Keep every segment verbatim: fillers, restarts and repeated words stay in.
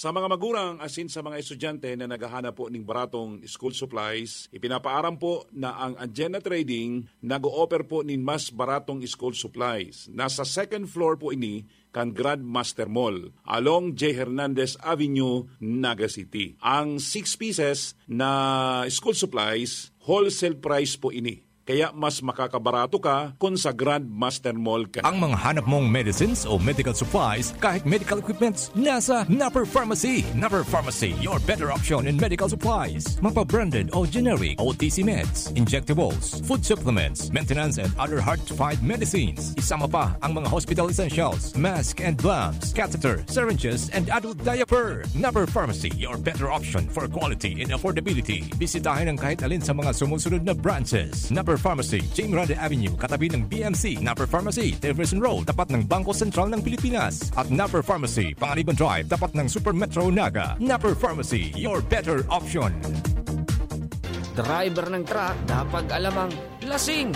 Sa mga magurang asin sa mga estudyante na naghahanap po ning baratong school supplies, ipinapaaram po na ang Agenda Trading nag-o-offer po nin mas baratong school supplies. Nasa second floor po ini kan Grandmaster Mall, along J Hernandez Avenue, Naga City. Ang six pieces na school supplies, wholesale price po ini. Kaya mas makakabarato ka kun sa Grandmaster Mall ka. Ang mga hanap mong medicines o medical supplies, kahit medical equipments, nasa Napper Pharmacy. Napper Pharmacy, your better option in medical supplies. Mapa-branded o generic, O T C meds, injectables, food supplements, maintenance and other hard-to-find medicines. Isama pa ang mga hospital essentials, mask and gloves, catheter, syringes, and adult diaper. Napper Pharmacy, your better option for quality and affordability. Bisitahin ang kahit alin sa mga sumusunod na branches. Napper Pharmacy, Jane Grande Avenue, katabi ng B M C. Napper Pharmacy, Jefferson Road, tapat ng Bangko Sentral ng Pilipinas. At Napper Pharmacy, Panganiban Drive, tapat ng Super Metro Naga. Napper Pharmacy, your better option. Driver ng truck, dapat alamang lasing.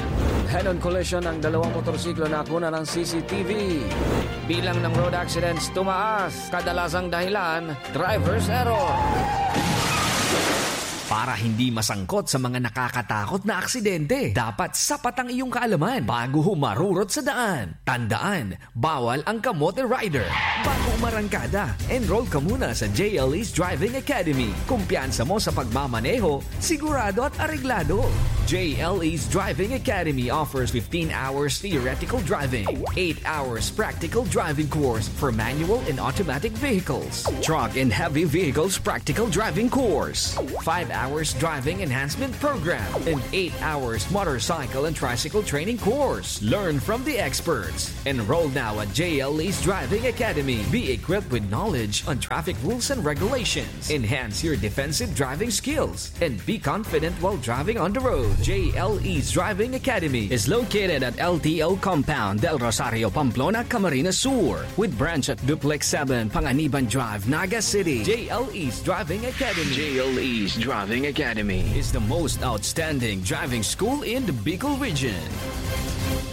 Head-on collision ng dalawang motorsiklo na nakuna ng C C T V. Bilang ng road accidents tumaas. Kadalasang dahilan, driver's error. Para hindi masangkot sa mga nakakatakot na aksidente, dapat sapat ang iyong kaalaman bago humarurot sa daan. Tandaan, bawal ang kamote rider. Bago umarangkada, enroll ka muna sa J L E's Driving Academy. Kumpiyansa mo sa pagmamaneho, sigurado at areglado. J L E's Driving Academy offers fifteen hours theoretical driving, eight hours practical driving course for manual and automatic vehicles, truck and heavy vehicles practical driving course, five hours driving enhancement program, and eight hours motorcycle and tricycle training course. Learn from the experts. Enroll now at J L E's Driving Academy. Be equipped with knowledge on traffic rules and regulations. Enhance your defensive driving skills and be confident while driving on the road. J L E's Driving Academy is located at L T O Compound, Del Rosario, Pamplona, Camarines Sur, with branch at Duplex seven, Panganiban Drive, Naga City. J L E's Driving Academy. J L E's Driving Academy is the most outstanding driving school in the Bicol region.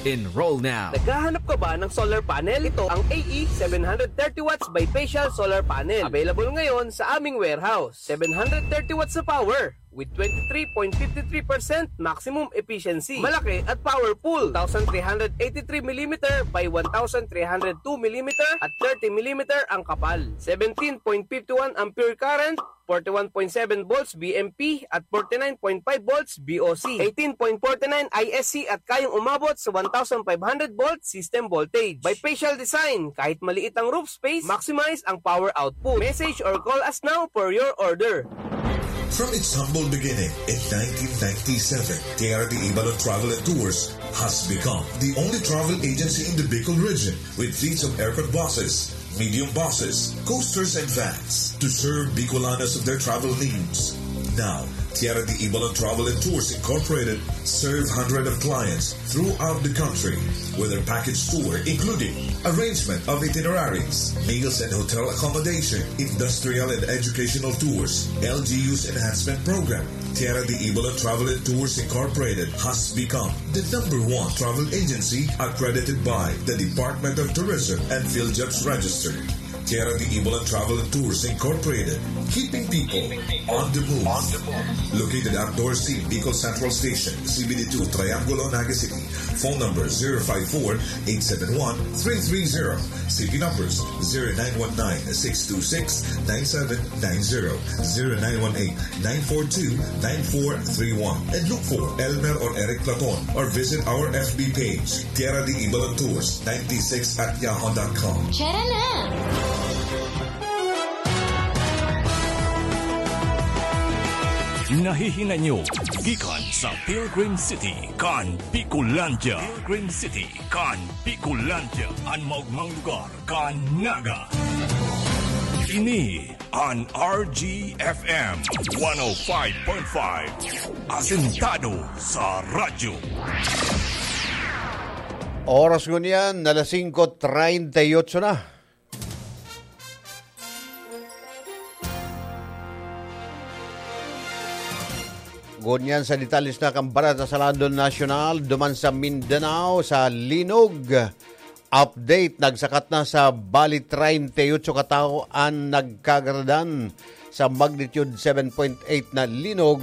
Enroll now. Naghahanap ka ba ng solar panel? Ito ang A E seven hundred thirty watts bifacial solar panel. Available ngayon sa aming warehouse. Seven hundred thirty watts na power with twenty-three point five three percent maximum efficiency. Malaki at powerful. Two thousand three hundred eighty-three millimeter by one thousand three hundred two millimeter at thirty millimeter ang kapal. Seventeen point five one ampere current, forty-one point seven volts V M P at forty-nine point five volts V O C, eighteen point forty-nine I S C at kayang umabot sa one thousand five hundred volt system voltage. Bifacial design, kahit maliit ang roof space, maximize ang power output. Message or call us now for your order. From its humble beginning in nineteen ninety-seven, Tierra de Ibalon Travel and Tours has become the only travel agency in the Bicol region with fleets of aircon buses, medium buses, coasters, and vans to serve Bicolanos of their travel needs. Now, Tierra de Ibalon Travel and Tours Incorporated serve hundreds of clients throughout the country with their package tour, including arrangement of itineraries, meals and hotel accommodation, industrial and educational tours, L G U's enhancement program. Tierra de Ibalon Travel and Tours Incorporated has become the number one travel agency accredited by the Department of Tourism and PhilJobs Register. Tierra de Ibalon Travel and Tours Incorporated, keeping people on the move. Located at Dorsey, Bicol Central Station, C B D two, Triangulo, Naga City. Phone number zero five four, eight seven one, three three zero. C P numbers zero nine one nine, six two six, nine seven nine zero, zero nine one eight, nine four two, nine four three one. And look for Elmer or Eric Platon or visit our F B page, Tierra de Ibalon Tours ninety-six at yahoo dot com. Tara na! Nahihinay nyo gikan sa Pilgrim City kan Bicolandia. Pilgrim City kan Bicolandia, an maogmang lugar kan Naga. Ini an R G F M one oh five point five, asentado sa radyo. Oras ngunyan, alas singko treinta y ocho na. Ngunyan sa detalles na kan bareta sa lado nasyonal, duman sa Mindanao, sa Linog, Update, nagsakat na sa bali treinta y ocho ka tawo an nagkagaradan sa magnitude seven point eight na linog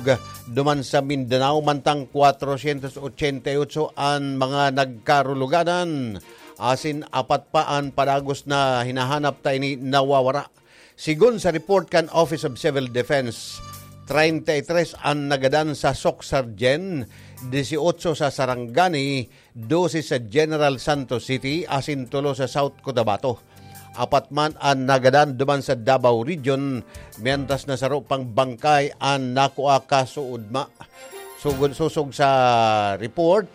duman sa Mindanao, mantang kwatrosyentos ochenta y ocho an mga nagkaruluganan, asin apat pa an padagos na hinahanap ta ini nawawara. Sigon sa report kan Office of Civil Defense, treinta y tres an nagadan sa Soc-Sargen, dieciocho sa Sarangani, dose sa General Santos City asin tulo sa South Cotabato. Apat man an nagadan duman sa Davao Region, mientras na saro pang bangkay an nakua kasuodma. Sugod, sosog sa report,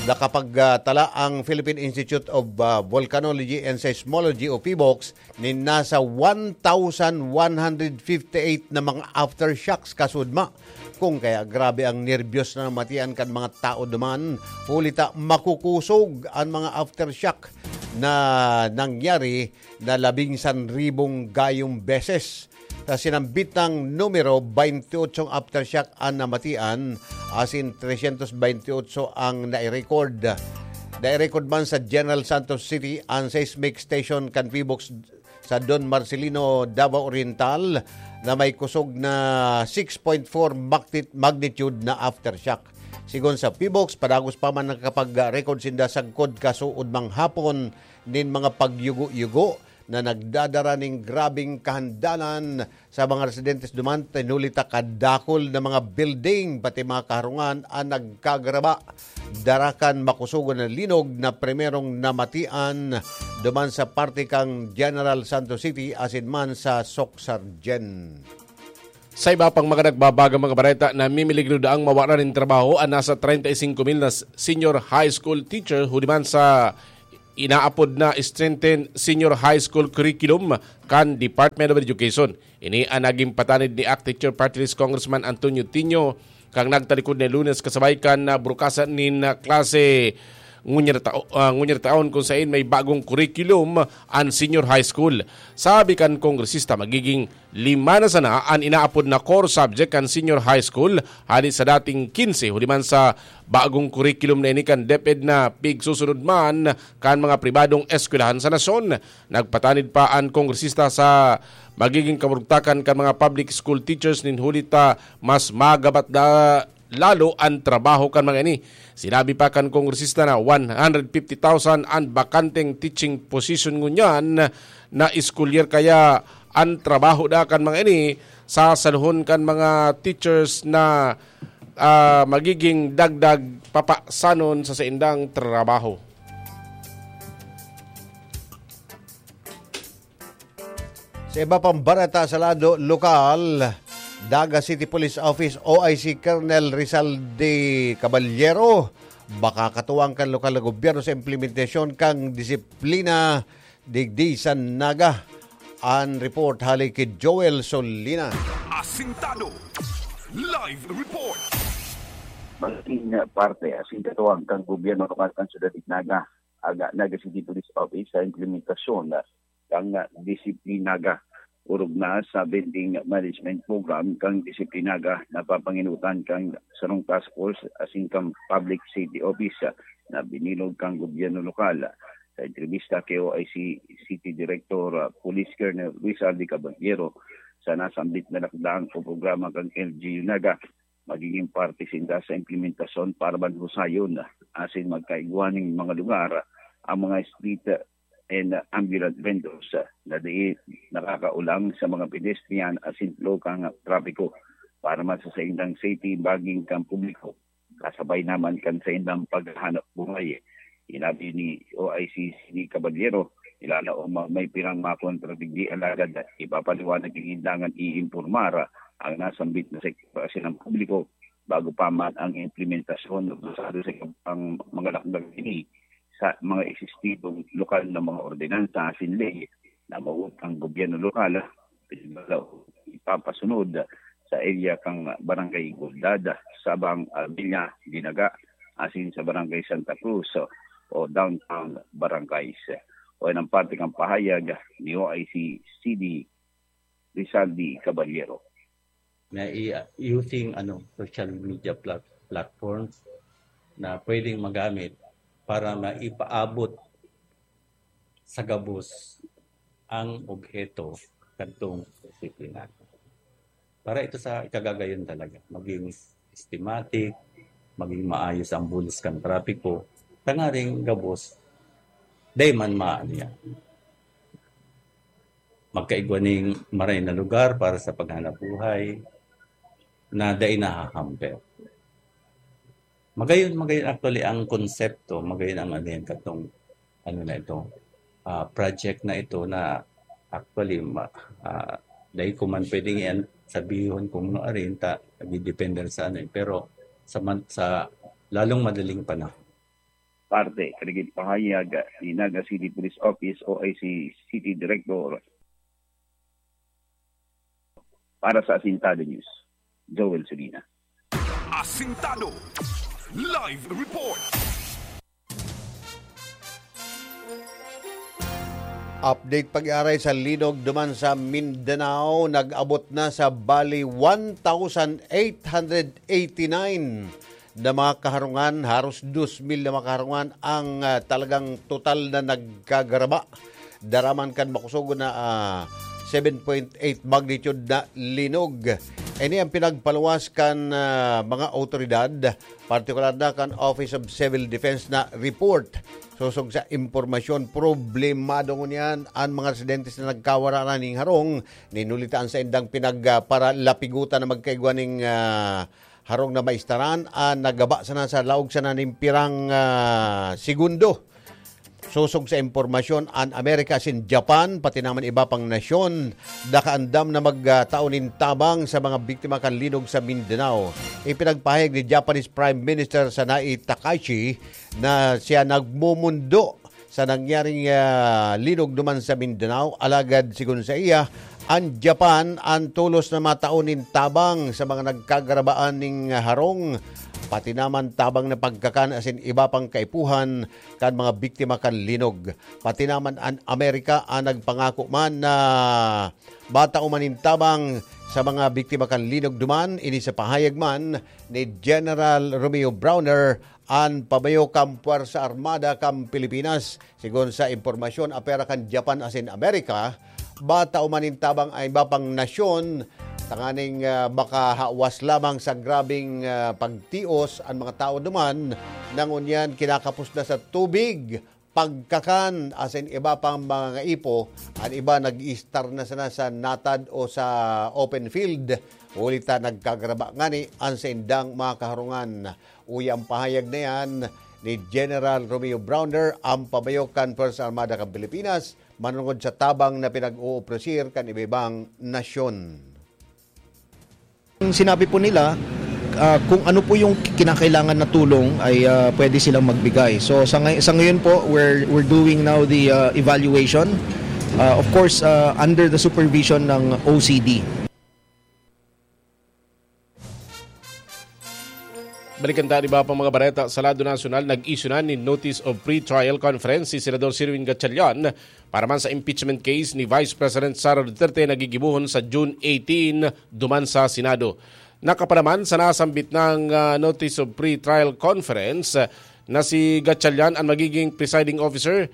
nakapagtala ang Philippine Institute of, ah, Volcanology and Seismology o PHIVOLCS nin nasa one thousand one hundred fifty-eight na mga aftershocks kasuodma. Kung kaya grabe ang nerbiyos na namatian kan mga tao duman, huli ta makukusog an mga aftershock na nangyari na labing sanribong gayong beses. Sa sinambitang numero, baynte otsong aftershock an namatian, asin tresyentos baynte otso ang nai-record. Nai-record man sa General Santos City an seismic station kan PHIVOLCS sa Don Marcelino, Davao Oriental, na may kusog na six point four magtit-, magnitude na aftershock. Sigon sa PHIVOLCS, padagos pa man nakapag-record sinda sagkod kasuodmang hapon nin mga pagyugo-yugo na nagdadara nin grabeng kahandalan sa mga residentes duman, huli ta kadakul na mga building, pati mga kaharungan an nagkagaraba. Dara kan makusogon na linog na primerong namatian duman sa parte kan General Santos City asin man sa Soc-Sargen. Sa iba pang mga nagbabagang mga bareta, namimiligro daang mawaran nin trabaho an nasa treinta y cinco mil na s-, senior high school teacher huli man sa inaapod na strengthened senior high school curriculum kan Department of Education. Ini an naging patanid ni ACT Teacher Party List Congressman Antonio Tinio kan nagtalikod na Lunes kasabay kan, ah, burukasan nin, ah, klase ngunyan na tao-, ah, ngunyan na taon, kung sain may bagong curriculum an senior high school. Sabi kan kongresista, magiging lima na sana an inaapod na core subject kan senior high school hali sa dating quince, huli man sa bagong curriculum na ini kan DepEd na pigsusunod man kan mga pribadong eskwelahan sa nasyon. Nagpatanid pa an kongresista sa magiging kaburugtakan kan mga public school teachers nin huli ta mas magabat da lalo an trabaho kan mga ini. Sinabi pa kan kongresista na one hundred fifty thousand an bakanteng teaching position ngunyan na school year, kaya an trabaho da kan mga ini sasaluhon kan mga teachers na, ah, magiging dagdag papasanon sa saindang trabaho. Sa iba pang bareta sa lado lokal, Naga City Police Office O I C Colonel Rizal de Caballero, baka katuwang kan lokal na gobyerno sa implementasyon kan disiplina digdi sa Naga. An report hali ki Joel Solina. Asintado. Live report. Maging parte asin katuwang kan gobyerno lokal kan syudad nin Naga, aga Naga City Police Office sa implementasyon kan Disiplinaga. Orog na sa vending management program kan Disiplinaga, napapanginutan kan sarong task force asin kan Public Safety Office na binilog kan gobyerno lokal. Sa entrevista kay O I C City Director, ah, Police Colonel Rizal de Caballero, sa nasambit na lakdang o programa kan L G U Naga, magiging parte sinda sa implementasyon para man husayon asin magkaigwa nin mga lugar ang mga street and ambulant vendors na dai nakakaulang sa mga pedestrian asin flow kan trapiko para man sa saindang safety maging kan publiko, kasabay naman kan saindang paghahanap buhay. Sinabi ni O I C City Caballero, ilalaom ang may pirang makontra digdi, alagad ipapaliwanag nin dangan iimpormar ang nasambit na sektor asin ang publiko bago pa man ang implementasyon. Basado sa ang mga lakdang ini sa mga existidong lokal na mga ordinansa asin ley na mawot ang gobyerno lokal, ipapasunod sa area kan Barangay Igualdad, Sabang, Armilla, Dinaga, asin sa Barangay Santa Cruz o downtown barangays. O yan ang parte kan pahayag ni O I C C D Rizaldi Caballero. Na i-, using, ano, social media plat-, platforms na pwedeng magamit para maipaabot sa gabos ang obheto kadtong disiplina. Para ito sa ikagagayon talaga, maging systematic, maging maayos ang bulos kan trapiko, tangaring gabos, dai man maano yan. Magkaigwa ning maray na lugar para sa paghanap buhay na dai nahahamper. Magayon, magayon actually ang konsepto, magayon ang ano yan, katong, ano na ito, ah, project na ito na actually, ma-, ah, dai ko man pwedeng yan sabihon kung ano arin, ta, nagdidepende sa ano eh. Pero sa man-, sa lalong madaling panahon. Parte, kan nagin pahayag ni Naga City Police Office o I C City Director. Para sa Asintado News, Joel Sulina. Asintado Live Report. Update pag-aaray sa linog duman sa Mindanao, nag-abot na sa bali one thousand eight hundred eighty-nine na mga kaharungan, haros dos mil na mga kaharungan ang, ah, talagang total na nagkagaraba. Daraman kan makusog na, ah, seven point eight magnitude na linog. Ini ang pinagpaluwas kan, ah, mga awtoridad, partikular na kan Office of Civil Defense na report. Sosog sa impormasyon, problemado ngunyan an mga residentes na nagkawara na ning harong. Ninulita an saindang pinagparalapigotan na magkaigwa ning, ah, harong na maistaran an nagaba sana sa laog sana nin pirang, ah, segundo. Sosog sa impormasyon, an Amerika asin Japan, pati naman iba pang nasyon, nakaandam na magtao nin tabang sa mga biktima kan linog sa Mindanao. Ipinagpahayag ni Japanese Prime Minister Sanae Takaichi na siya nagmumundo sa nangyaring, ah, linog duman sa Mindanao, alagad sigon sa iya, an Japan an tolos na matao nin tabang sa mga nagkagarabaan ning harong, pati naman tabang na pagkakan asin iba pang kaipuhan kan mga biktima kan linog. Pati naman an Amerika an nagpangako man na matao man nin tabang sa mga biktima kan linog duman, ini sa pahayag man ni General Romeo Brawner, an pamayo kan Puwersa Armada kan Pilipinas. Sigon sa impormasyon, apera kan Japan asin Amerika, matao man nin tabang an iba pang nasyon, tanganing, ah, makahawas lamang sa grabeng, ah, pagtios an mga tao duman, na ngunyan kinakapos na sa tubig, pagkakan, asin iba pang mga ngaipo, an iba nag-iistar na sana sa natad o sa open field, huli ta nagkagaraba ngani an saindang mga kaharungan. Uya ang pahayag na yan ni General Romeo Brawner, ang pamayo kan Puwersa Armada kan Pilipinas, manongod sa tabang na pinag-oopresir kan iba-ibang nasyon. Ang sinabi po nila, ah, kung ano po yung kinakailangan na tulong ay, ah, pwede silang magbigay. So, sa ngay-, sa ngayon po, we're, we're doing now the, ah, evaluation. Ah, of course, ah, under the supervision ng O C D. Balikan ta an iba pang mga bareta. Sa lado nasyonal, nag-issue na nin Notice of Pre-Trial Conference si Senador Sherwin Gatchalian para man sa impeachment case ni Vice President Sara Duterte na gigibohon sa June eighteen duman sa Senado. Nakapanaman sa nasambit nang, ah, Notice of Pre-Trial Conference, ah, na si Gatchalian an magiging presiding officer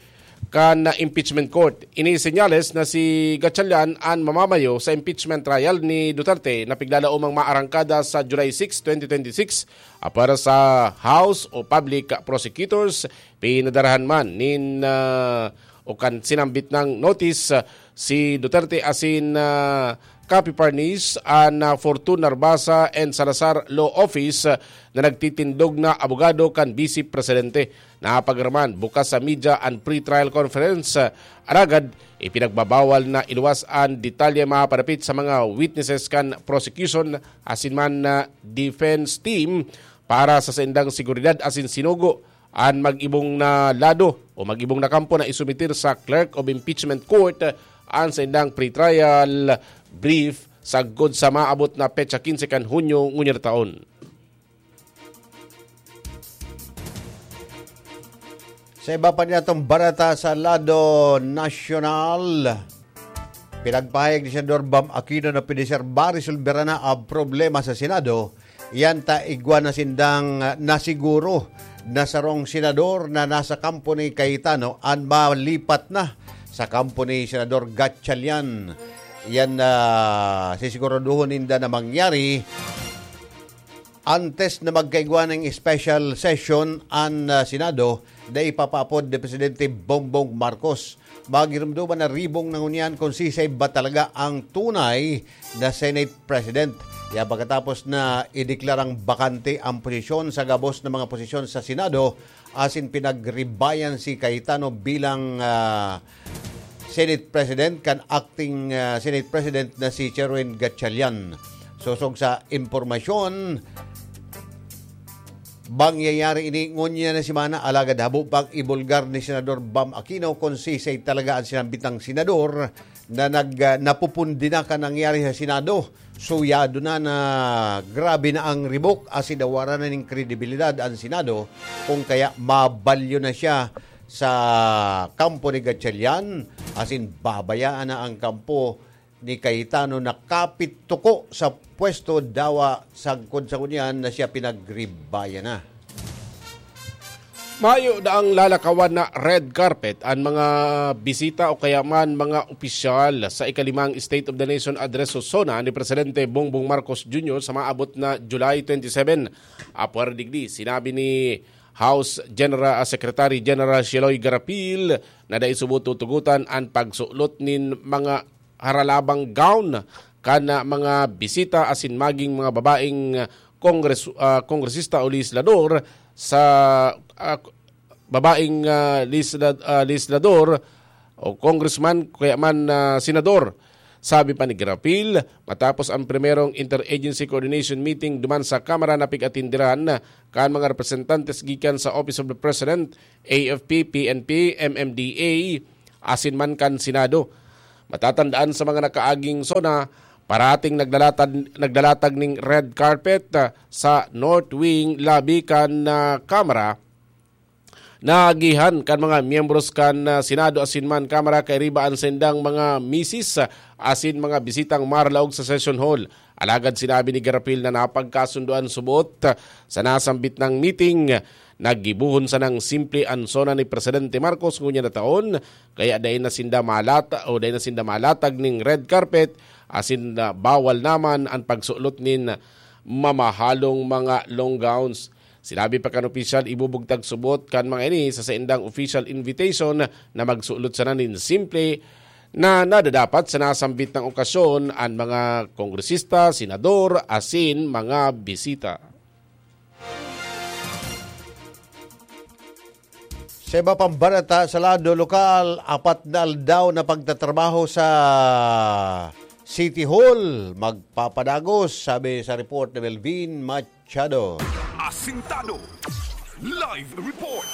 kan impeachment court. Ini senyales na si Gatchalian an mamamayo sa impeachment trial ni Duterte na pigdadaomang maarangkada sa July six, twenty twenty-six. Apwera sa House o Public Prosecutors, pinadarahan man nin, ah, o kan sinambit nang notice, ah, si Duterte asin, ah, Capiparnis an, ah, Fortun Narbasa and Salazar Law Office, ah, na nagtitindog na abogado kan Vice Presidente. Napagaraman bukas sa media an pre-trial conference, ah, alagad ipinagbabawal na iluwas an detalye mapadapit sa mga witnesses kan prosecution asin man na defense team para sa saindang seguridad asin sinugo an mag-ibong na lado o mag-ibong na kampo na isumitir sa Clerk of Impeachment Court an saindang pre-trial brief sagkod sa maabot na petsa quince kan Hunyo ngunyan na taon. Sa iba pa niyatong bareta sa lado nasyonal, pinagpahayag ni Senador Bam Aquino na pwede siya maresolbera na ang problema sa Senado. Yan ta igwa na sindang, ah, nasiguro na sarong senador na nasa kampo ni Cayetano an malipat na sa kampo ni Senador Gatchalian. Yan na sisiguraduhon ninda na mangyari antes na magkaigwa ng special session an, ah, Senado na ipapaapod ni Presidente Bongbong Marcos. Magirumduman na ribong na ngunyan kung sisay ba talaga ang tunay na Senate President. Kaya pagkatapos na ideklarang bakante ang posisyon sa gabos na mga posisyon sa Senado, asin pinagribayan si Cayetano bilang, ah, Senate President kan acting, ah, Senate President na si Sherwin Gatchalian. Sosog sa impormasyon, mangyayari ini ngunyan na semana, alagad habo pang ibulgar ni Senador Bam Aquino kung sisay talaga ang sinambitang senador na nag, ah, napupundi na kan nangyari sa Senado. Suyado na na grabe na ang ribok asin nawara na nin kredibilidad an Senado, kung kaya mabalyo na siya sa kampo ni Gatchalian, asin babayaan na ang kampo ni Cayetano na kapit tuko sa pwesto dawa sagkod sa ngunyan na siya pinagribayan na. Mayo daang lalakawan na red carpet an mga bisita o kaya man mga opisyal sa ikalimang State of the Nation Address o SONA ni Presidente Bongbong Marcos Junior sa maabot na July twenty-seven. Apwera digdi, sinabi ni House General, ah, Secretary General Sheloy Garapil na dai subot tutugotan an pagsulot nin mga haralabang gown kan, ah, mga bisita asin maging mga babaeng, ah, kongres-, ah, kongresista o legislador sa, ah, babaeng, ah, legisla-, ah, legislador o congressman kaya man, ah, senador. Sabi pa ni Garapil, matapos ang primerong interagency coordination meeting duman sa Kamara na pig-atindiran kan mga representantes gikan sa Office of the President, A F P, P N P, M M D A, asin man kan Senado. Matatandaan sa mga nakaaging SONA, parating naglalatad, naglalatag ning red carpet, ah, sa North Wing lobby kan, ah, Kamara, naagihan kan mga miyembros kan, ah, Senado asin man Kamara kairiba an saindang mga misis, ah, asin mga bisitang marlaog sa session hall. Alagad sinabi ni Garapil na napagkasundoan subot, ah, sa nasambit nang meeting. Naggibohon sanang simple an SONA ni Presidente Marcos ngunyan na taon, kaya dai na sinda malata-, o dai na sinda malatag ning red carpet, asin na bawal naman an pagsulot nin mamahalong mga long gowns. Sinabi pa kan opisyal, ibubugtang subot kan mga ini sa saindang official invitation na magsulot sana nin simple na nadadapat sa nasambit na okasyon an mga kongresista, senador, asin mga bisita. Sa iba pang balita sa lado lokal, apat na aldaw na pagtatrabaho sa City Hall magpapadagos, sabi sa report ni Melvin Machado. Asintado. Live report.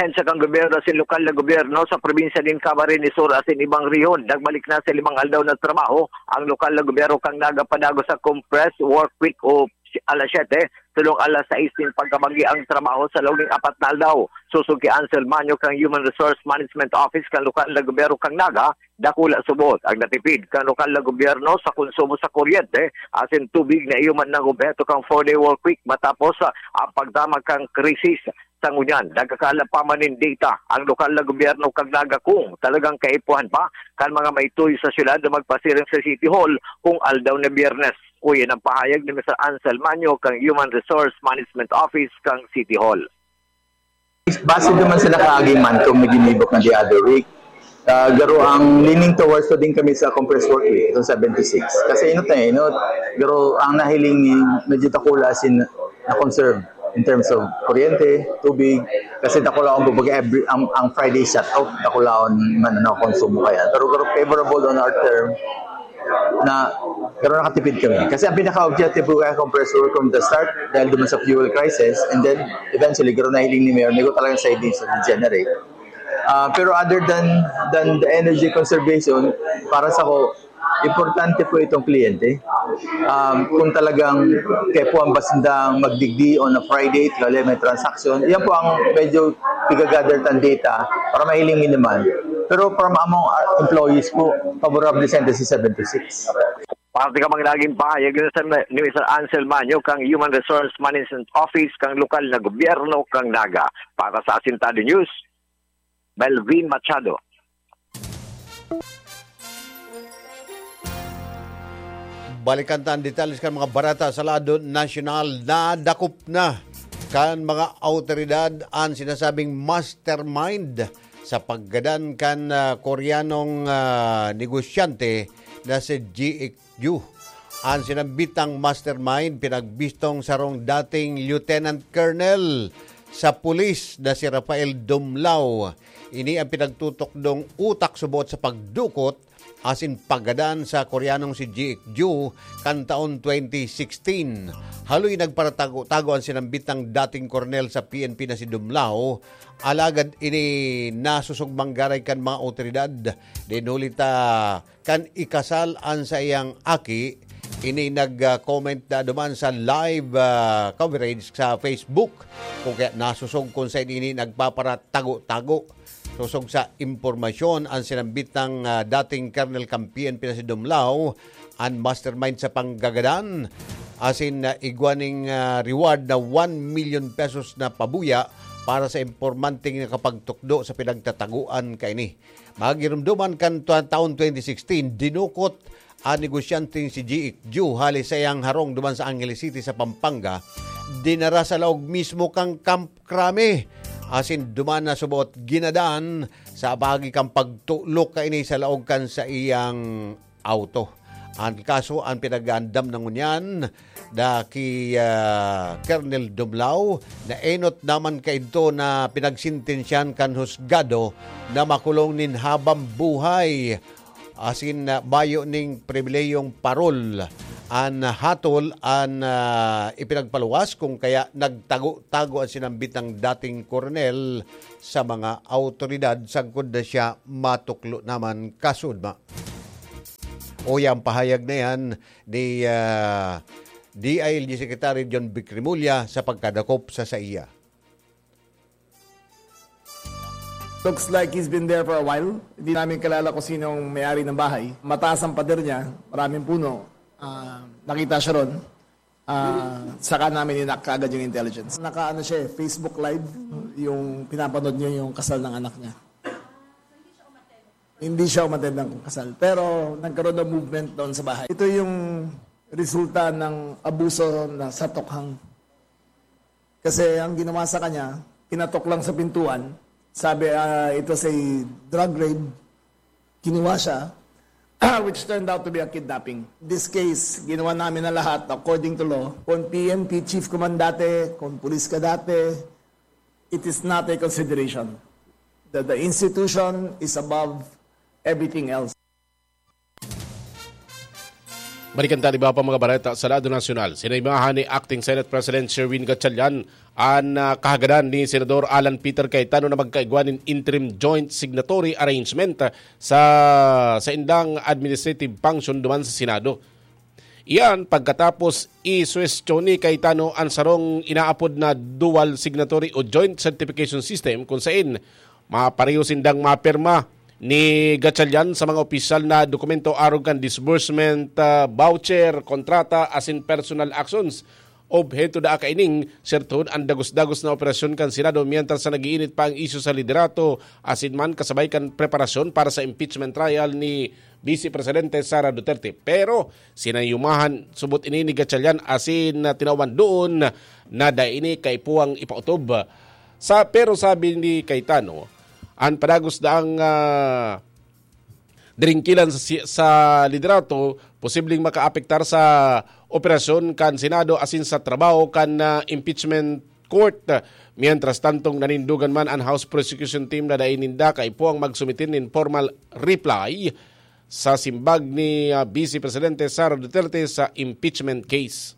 Ahensya kan gobyerno asin lokal na gobyerno sa probinsya nin Camarines Sur asin ibang rehiyon, nagbalik na sa limang aldaw na trabaho ang lokal na gobyerno kan Naga padagos sa compressed work week o alas siyete, tulong alas sais nin pagkabanggi ang trabaho sa laog nin apat na aldaw. Sosog ki Ansel Manyo kan Human Resource Management Office kan lokal na gobyerno kan Naga, dakula subot ang natipid kan lokal na gobyerno sa konsumo sa kuryente asin tubig na iyo man nang obheto kan four-day work week matapos, ah, ang pagdamag kan krisis. Sa ngunyan, nagkakaala pa man nin data ang lokal na gobyerno kan Naga kung talagang kaipuhan pa kan mga maituyo sa syudad na magpasiring sa City Hall kung aldaw na Biyernes. Uyan ang pahayag ni Mister Ansel Manyo kan Human Resource Management Office kan City Hall. Base naman sa nakaaging monthly na ginibok na the other week, ah, garo ang leaning towards to din kami sa compressed work week, itong seventy-six. Kasi ino tayo, ino, garo ang nahiling ni medyo takula sin na-conserve in terms of kuryente, tubig, kasi takula ang, kumbaga, every, ang, ang Friday shut off, takula ang man, ano, konsumo kaya. Pero, pero favorable on our term na pero nakatipid kami. Kasi ang pinaka-objective ko kaya compressor from the start, dahil duman sa fuel crisis, and then eventually, garo nahiling ni Mayor, may ko talagang savings na generate. Ah, pero other than than the energy conservation, para sa ko, importante po itong kliyente. Um, kung talagang kaya po ang basindang magdigdi on a Friday, tuloy may transaction, yan po ang medyo pigagather tan data para mahiling minimal. Pero from among, ah, employees po, favorable sa seven to six. Parte kan mga nagin pahayag ni Mister Ansel Manyo kan Human Resource Management Office kan lokal na gobyerno kan Naga. Para sa Asintado News, Melvin Machado. Balikan ta an detalye kan mga bareta sa lado nasyonal. Nadakop na kan mga awtoridad an sinasabing mastermind sa paggadan kan, ah, Koreanong, ah, negosyante na si Ji Ju. An sinambitang mastermind pinagbistong sarong dating lieutenant colonel sa pulis na si Rafael Dumlao. Ini ang pinagtutukdong utak subot sa pagdukot asin paggadan sa Koreanong si Ji Ju kan taon twenty sixteen. Haloy nagparatago-tago an sinambitang dating koronel sa P N P na si Dumlao, alagad ini nasosog manggaray kan mga awtoridad. Dinuli ta kan ikasal an saiyang aki, ini nag-comment na duman sa live, ah, coverage sa Facebook. Kung kaya nasosog kung sa ini nagpaparatago-tago. Sosog sa impormasyon, ang sinambitang, ah, dating Colonel kan P N P na si Dumlao, ang mastermind sa panggagadan, asin, ah, igwa ning, ah, reward na one million pesos na pabuya para sa impormanteng nakapagtukdo sa pinagtataguan kaini. Magirumduman kan twa-, taon twenty sixteen, dinukot an negosyanteng si G X Ju hali sa iyang harong duman sa Angeles City sa Pampanga, dinara sa laog mismo kan Camp Crame, asin duman na subot ginadan sa pagi kan pagtulok kaini sa laog kan sa iyang auto. Ang kaso, ang pinag-aandam na ngunyan, da ki, ah, Colonel Dumlao, na enot naman kaidto na pinagsintensyahan kan husgado na makulong nin habang buhay. Asin, ah, mayo ning pribilehiyong parol an hatol an, ah, ipinagpaluwas, kung kaya nagtago-tago an sinambitang dating koronel sa mga awtoridad sagkod na siya matuklo naman kasudma. Uya ang pahayag na yan ni, ah, D I L G Secretary John Vic Remulla sa pagkadakop sa saiya. Looks like he's been there for a while. Hindi namin kilala kung sino ang may-ari ng bahay. Mataas ang pader niya, maraming puno. Ah, nakita siya ron. Ah, saka namin inak kaagad yung intelligence. Naka ano siya eh, Facebook Live, yung pinapanood niya yung kasal ng anak niya. Hindi siya umattend ng kasal. Pero nagkaroon ng movement doon sa bahay. Ito yung resulta ng abuso na sa tokhang. Kasi ang ginawa sa kanya, kinatok lang sa pintuan. Sabi, ah, it was a drug raid. Kinuha siya, which turned out to be a kidnapping. This case, ginawa namin na lahat according to law. Kung P N P chief ka man dati, kung pulis ka dati, it is not a consideration. The, the institution is above everything else. Balikan ta an iba pa mga bareta sa lado nasyonal. Sinaimahan ni Acting Senate President Sherwin Gatchalian an, ah, kahagadan ni Senador Alan Peter Cayetano na magkaigwa nin interim joint signatory arrangement, ah, sa saindang administrative function duman sa Senado. Iyan pagkatapos isuwestiyon ni Cayetano an sarong inaapod na dual signatory o joint certification system, kung sain mapareho sindang mapirma ni Gatchalian sa mga opisyal na dokumento arog kan disbursement, ah, voucher, kontrata, asin personal actions. Obheto daa kaining sertohon an dagos-dagos na operasyon kan Senado mientras na nag-iinit pa ang isyu sa liderato asin man kasabay kan preparasyon para sa impeachment trial ni Vice Presidente Sara Duterte. Pero sinayumahan subot ini ni Gatchalian asin, ah, tinawan doon na dai ini kaipuhang ipautob. Sa, pero sabi ni Cayetano, an padagos daang, ah, diringkilan sa si-, sa liderato posibleng makaapektar sa operasyon kan Senado asin sa trabaho kan, ah, impeachment court. Mientras tantong nanindogan man an House Prosecution Team na dai ninda kaipuhang magsumite nin formal reply sa simbag ni, ah, Vice Presidente Sara Duterte sa impeachment case.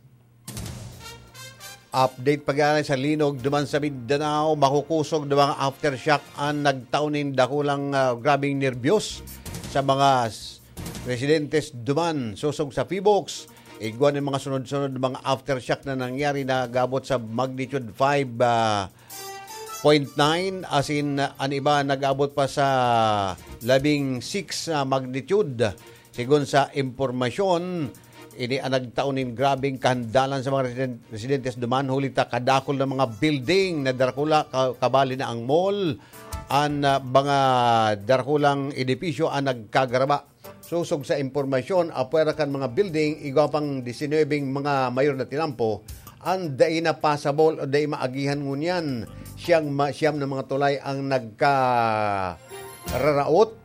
Update pag-aaray sa linog duman sa Mindanao, makukosog na mga aftershock an nagtao nin dakulang, ah, grabeng nerbiyos sa mga s-, residentes duman sosog sa Phivolcs. Igwa nin mga sunod-sunod na mga aftershock na nangyari na nag-abot sa magnitude five, ah, point nine, asin, ah, an iba nag-abot pa sa labing six na magnitude. Sigon sa impormasyon, Ini an nagtao nin grabeng kahandalan sa mga residen-, residentes duman, huli ta kadakul na mga building na darakula, ka-, kabali na ang mall, an, ah, mga darakulang edipisyo an nagkagaraba. Sosog sa impormasyon, apwera kan mga building, igwa pang disinwebeng mga mayor na tinampo, an dai na passable o dai maagihan ngunyan. Siyang ma-, siyam na mga tulay ang nagkararaot,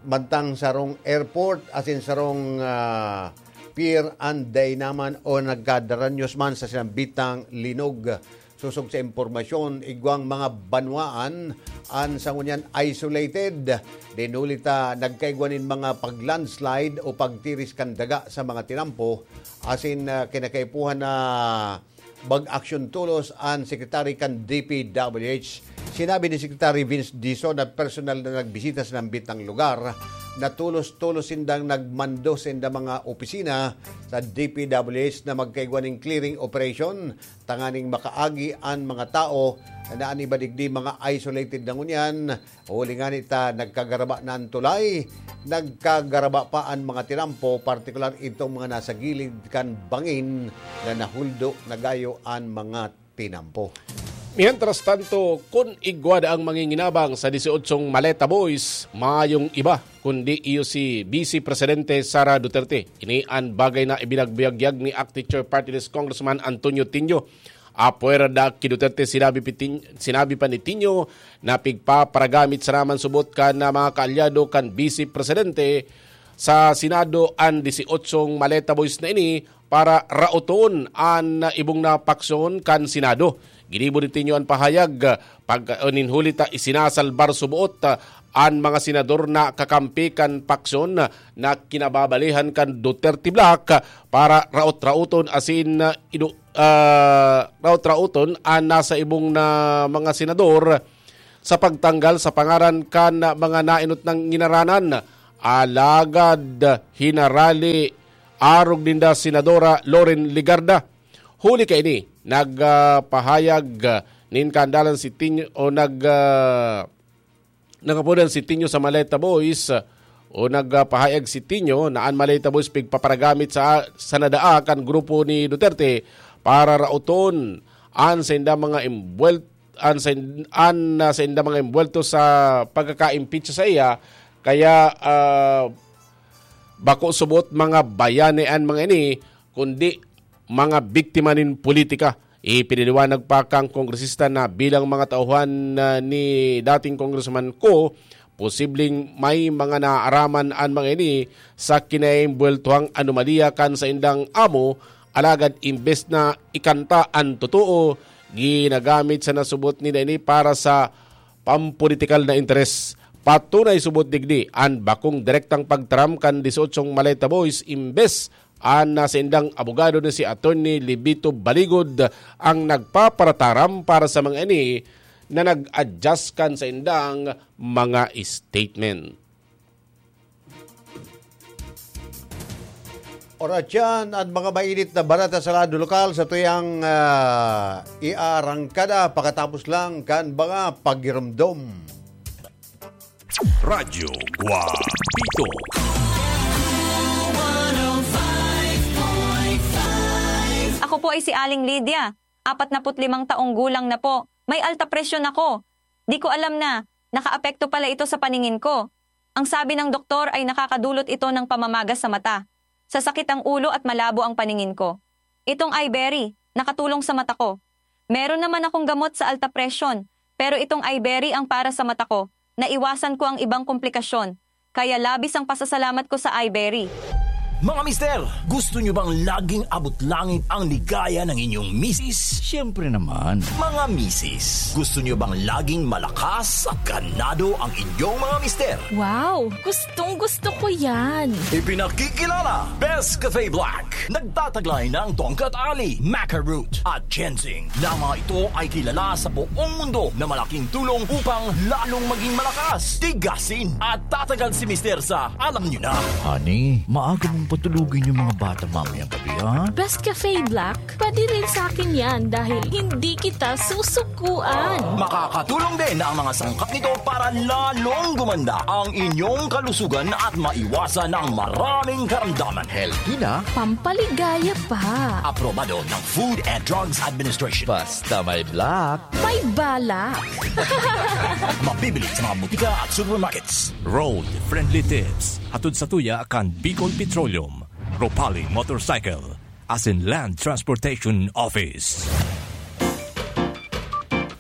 mantang sarong airport, asin sarong, ah, pier an dai naman o nagkadaranyos man sa sinambitang linog. Sosog sa impormasyon, igwang mga banwaan an sa ngunyan isolated. Dinuli ta nagkaigwa nin mga pag-landslide o pagtiris kan daga sa mga tinampo, asin, ah, kinakaipuhan na mag-aksyon tolos an sekretary kan D P W H. Sinabi ni Secretary Vince Dizon na personal na nagbisita sa nambitang lugar, na tolos-tolos sindang nagmando sa inda mga opisina sa D P W H na magkaigwa nin clearing operation tanganing makaagi an mga tao na an iba digdi mga isolated na ngunyan. Huli ngani ta nagkagaraba na an tulay, nagkagaraba pa an mga tinampo, partikular itong mga nasa gilid kan bangin na nahuldo na gayo an mga tinampo. Mientras tanto, kun igwa daang manginginabang sa disyotsyong Maleta Boys, mayong iba kundi iyo si Vice Presidente Sara Duterte. Ini an bagay na ibinagbiyagyag ni Acting Chair Party List Congressman Antonio Tinio. Apwera da ki Duterte, sinabi, pitin-, sinabi pa ni Tinio na pigpaparagamit sana man subot kan, ah, mga kaalyado kan Vice Presidente sa Senado an disyotsyong Maleta Boys na ini para raoton an ibong na paksyon kan Senado. Ginibo ni Tinio an pahayag pag, o nin huli ta isinasalbar suboot, ah, an mga senador na kakampi kan paksyon na kinababalihan kan Duterte Bloc para raot-raoton asin, ah, inu-, ah, raot-raoton an nasa ibong na mga senador sa pagtanggal sa pangaran kan mga naenot nang nginaranan. Alagad hinarali arog ninda Senadora Loren Legarda. Huli kaini, nagpahayag, ah, nin kahandalan si Tinio o nag, ah, nagapodan si Tinio sa Maleta Boys, ah, o nagpahayag si Tinio na an Maleta Boys pigpaparagamit sa, sa nadaa kan grupo ni Duterte para raoton an sainda mga imbuwel-, an sain-, an, ah, sainda mga imbuwelto sa pagkaka-impeach sa iya, kaya, ah, bako subot mga bayani an mga ini, kundi mga biktima nin politika. Ipinaliwanag pa kan kongresista na bilang mga tauhan na ni dating Congressman Kho, posibleng may mga naaaraman an mga ini sa kinaimbuweltohang anomalya kan saindang amo, alagad imbes na ikanta an totoo, ginagamit sa nasubot nila ini para sa pampolitikal na interes. Patunay subot digdi an bakong direktang pagtaram kan disyotsyong Maleta Boys, imbes an nasa indang abogado na si Attorney Libito Baligod ang nagpaparataram para sa mga ini na nag-adjust kan sa indang mga statement. Oras yan at mga mainit na balita sa lado lokal sa tuyang, ah, iarangkada pakatapos lang kan mga pagirumdom. Radyo Guapito. Ako po ay si Aling Lydia, apat na put limang taong gulang na po. May alta presyon ako. Di ko alam na nakaapekto pala ito sa paningin ko. Ang sabi ng doktor ay nakakadulot ito ng pamamaga sa mata, sasakit ang ulo at malabo ang paningin ko. Itong Iberry, nakatulong sa mata ko. Meron naman akong gamot sa alta presyon, pero itong Iberry ang para sa mata ko. Naiwasan ko ang ibang komplikasyon, kaya labis ang pasasalamat ko sa Iberry. Mga mister, gusto nyo bang laging abot langit ang ligaya ng inyong misis? Siyempre naman. Mga misis, gusto nyo bang laging malakas at ganado ang inyong mga mister? Wow! Gustong gusto ko yan! Ipinakikilala, Best Cafe Black. Nagtataglay ng tongkat ali, maca root, at ginseng. Na mga ito ay kilala sa buong mundo na malaking tulong upang lalong maging malakas, tigasin, at tatagal si mister sa alam nyo na. Honey, maaga mong Patulugin yung mga bata mamayang gabi, ha? Best Cafe Black, pwede rin sa akin yan dahil hindi kita susukuan. Makakatulong din ang mga sangkap nito para lalong gumanda ang inyong kalusugan at maiwasan ang maraming karamdaman. Healthy na, Pampaligaya pa. Aprobado ng Food and Drugs Administration. Basta may black. May balak. Mabibili sa mga butika at supermarkets. Road Friendly Tips. Hatod sa tuya kan Bicol Petroleum, Ropali Motorcycle, asin Land Transportation Office.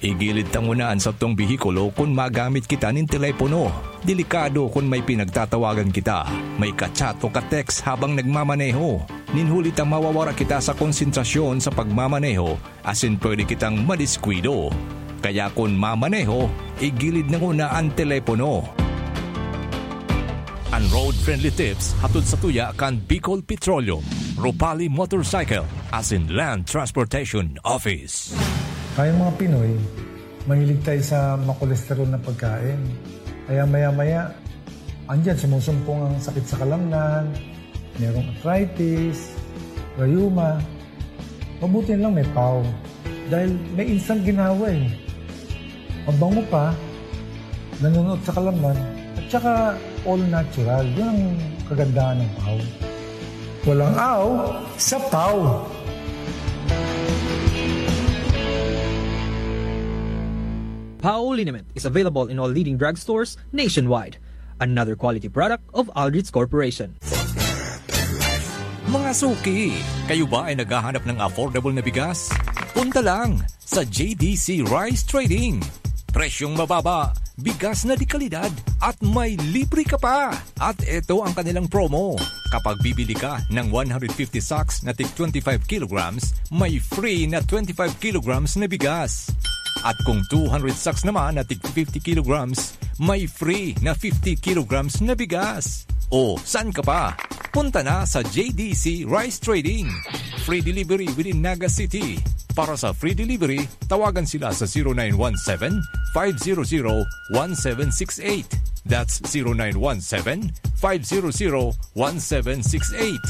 Igilid ta nguna an satong behikulo kun magamit kita nin telepono. Delikado kun may pinagtatawagan kita, may ka-chat o ka-text habang nagmamaneho. Nin huli ta mawawara kita sa konsentrasyon sa pagmamaneho asin pwede kitang madiskuido. Kaya kun mamaneho, igilid na nguna an telepono. An Road Friendly Tips hatod sa tuya kan Bicol Petroleum, Ropali Motorcycle, asin Land Transportation Office. Tayong mga Pinoy, mahilig tayo sa makolesterol na pagkain. Kaya maya-maya, andyan sumusumpong ang sakit sa kalamnan, merong arthritis, rayuma. Mabuti na lang may pau. Dahil may instant ginawa eh. Mabango pa, nanunuot sa kalamnan, at saka all natural. Yun ang kagandahan ng pau. Walang aw sa pau. Pau liniment is available in all leading drugstores nationwide. Another quality product of Aldrich Corporation. Mga suki, kayo ba ay naghahanap ng affordable na bigas? Punta lang sa J D C Rice Trading. Presyong mababa, bigas na de kalidad, at may libre ka pa! At ito ang kanilang promo. Kapag bibili ka ng one hundred fifty sacks na tig twenty-five kilograms, may free na twenty-five kilograms na bigas. At kung two hundred sacks naman na tig fifty kilograms, may free na fifty kilograms na bigas. O, saan ka pa? Punta na sa J D C Rice Trading. Free delivery within Naga City. Para sa free delivery, tawagan sila sa zero nine one seven, five zero zero, one seven six eight. That's zero nine one seven, five zero zero, one seven six eight.